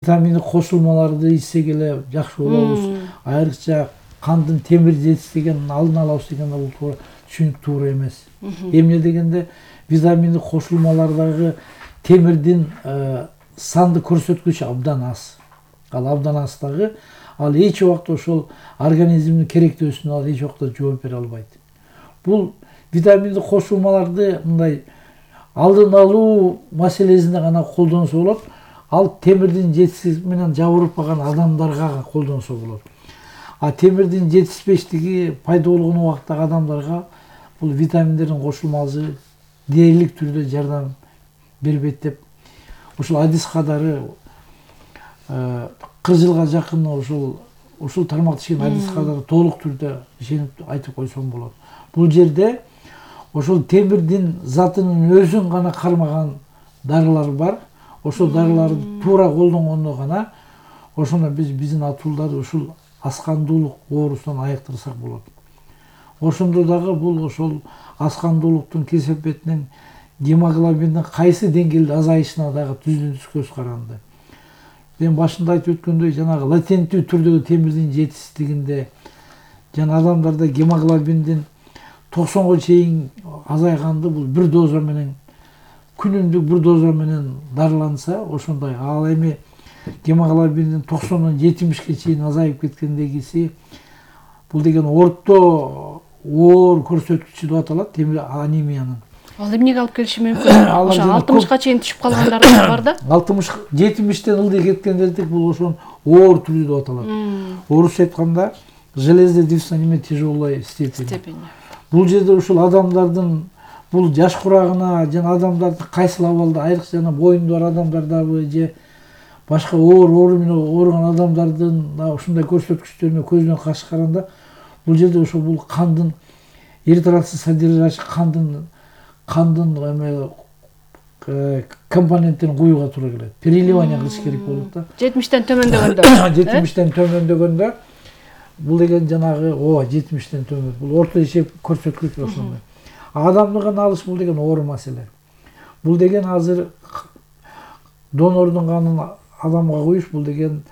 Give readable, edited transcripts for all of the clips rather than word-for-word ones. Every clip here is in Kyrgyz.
Витаминдик кошулмаларды ичсек эле жакшы болобуз. Айрыкча кандын темир жетишпегенин алдын алабыз дегенде бул туура түшүнүк туура эмес. Эмне дегенде витаминдик кошулмалардагы темирдин сандык көрсөткүчү абдан аз. Ал абдан аз дагы ал эч убакта ошол организмдин керектөөсүнө ал эч убакта жооп бере албайт. Бул витаминдик кошулмаларды мындай алдын алуу маселесинде гана колдонсо болот. Ал темирдин жетишсиздиги менен жабырып калган адамдарга колдонсо болот. А темирдин жетишпештиги пайда болгон убактагы адамдарга бул витаминдердин кошулмасы дээрлик түрдө жардам бербейт деп ушул адис кадары 40 жылга жакын ушул тармакта ишенген адис кадары толук түрдө ишенип айтып койсом болот. Бул жерде ошол темирдин затынын өзүн гана кармаган дарылар бар. Ошол дарыларды туура колдонгондо гана ошондо биздин атуулдар ушул аскандуулук оорусунан айыктырсак болот. Ошондо дагы бул ошол аскандуулуктун кесепетинен гемоглобиндин кайсы деңгээлде азайышына дагы түздүн-түз көз каранды. Мен башында айтып өткөндөй жанагы латенттүү түрдөгү темирдин жетишсиздигинде жана адамдарда гемоглобиндин 90га чейин азайганды бул бир доза менен күнүмдүк бир доза менен дарыланса ошондой. Ал эми гемоглобиндин 90-дан 70ге чейин азайып кеткендегиси бул деген орто оор көрсөткүчү деп аталат, темир анемиянын. Ал эмнеге алып келиши мүмкүн? Ошо 60га чейин түшүп калгандар бар да. 60-70тен ылдый кеткендердик бул ошон оор түрү деп аталат. Орусча айтканда железный тяжелой степени. Бул жерде ушул адамдардын бул жаш курагына жана адамдардын кайсыл абалда айрыкча жана боюнда бар адамдардабы же башка оор менен ооруган адамдардын ушундай көрсөткүчтөрүнө көз менен каршы караганда бул жерде ошол бул кандын эритроцит содержащий кандын компоненттерин коюуга туура келет. Переливание кылыш керек болот да. 70тен төмөндөгөндө. 70тен төмөндөгөндө бул деген жанагы 70тен төмөн. Бул орто эсеп көрсөткүч ошондой. Адамдыгын алыш бул деген оор маселе. Бул деген азыр донордун канын адамга коюш бул деген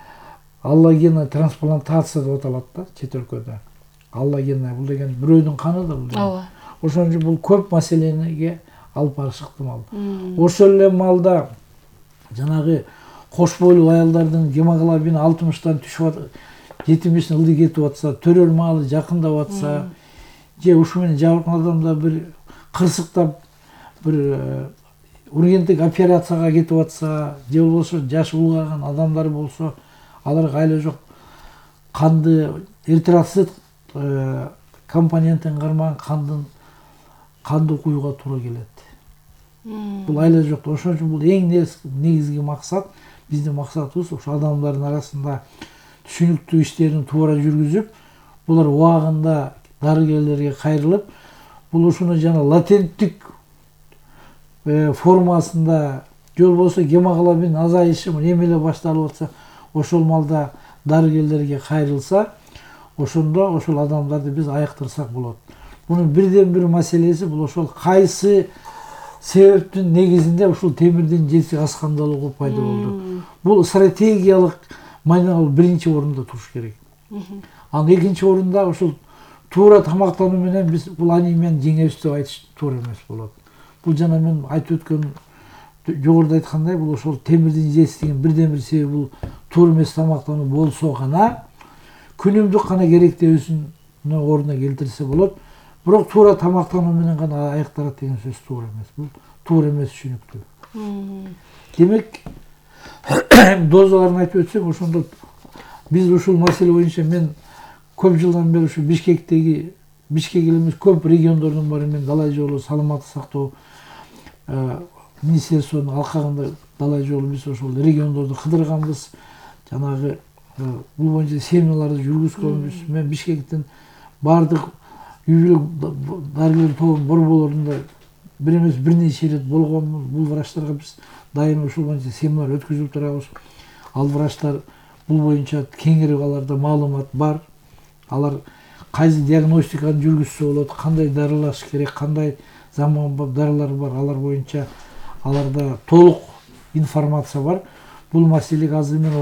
аллогенный трансплантация деп аталат да чет өлкөдө. Аллогенный бул деген бирөөнүн каны да бул. Ооба. Ошон үчүн бул көп маселеге алып барышы ыктымал. Ошол эле маалда жанагы кош бойлуу аялдардын гемоглобини 60тан түшүп 70 ылдый кетип атса, төрөр маалы жакындап атса, же ушу менен жабыркаган адамдар бир кырсыктап бир ургенттик операцияга кетип атса, же болбосо жаш улгайган адамдар болсо, аларга айла жок канды эритроцит компонентин кармаган канды куюуга туура келет. Бул айла жок. Ошон үчүн бул эң негизги максат, биздин максатыбыз ошо адамдардын арасында түшүнүктүү иштерин туура жүргүзүп, булар убагында дарыгерлерге кайрылып, бул ушуну жана латенттик формасында же болбосо гемоглобин азайышы эме эле башталып атса, ошол маалда дарыгерлерге кайрылса, ошондо ошол адамдарды биз айыктырсак болот. Мунун бирден бир маселеси бул ошол кайсы себептин негизинде ушул темирдин жетишсиздиги аскандалууга пайда болду. Бул стратегиялык майнал биринчи орунда туруш керек. Анан экинчи орунда ушул туура тамактануу менен биз бул анемияны жеңебиз деп айтыш туура эмес болот. Бул жана мен айтып өткөн жогоруда айткандай бул ошол темирдин жетишсиздигинин бирден бир себеби бул туура эмес тамактануу болсо гана күнүмдүк гана керектөөсүн ордуна келтирсе болот. Бирок туура тамактануу менен гана айыкталат деген сөз туура эмес. Бул туура эмес түшүнүктүү. Демек, дозаларын айтып өтсөк, ошондо биз ушул маселе боюнча мен көп жылдан бери ушу Бишкек эле эмес көп региондордун баары мен далай жолу саламаттык сактоо министерствонун алкагында далай жолу биз ошол региондорду кыдырганбыз. Жанагы бул боюнча семиналарды жүргүзгөнбүз. Мен Бишкектин баардык үй бүлөк дарыгерлер тобунун борборлорунда бир эмес бир нече ирет болгонбуз. Бул врачтарга биз дайыма ушул боюнча семинар өткүзүп турабыз. Ал врачтар бул боюнча кеңири аларда маалымат бар. Алар кайсы диагностиканы жүргүзсө болот, кандай дарылаш керек, кандай заманбап дарылар бар, алар боюнча аларда толук информация бар. бул маселеге азыр мен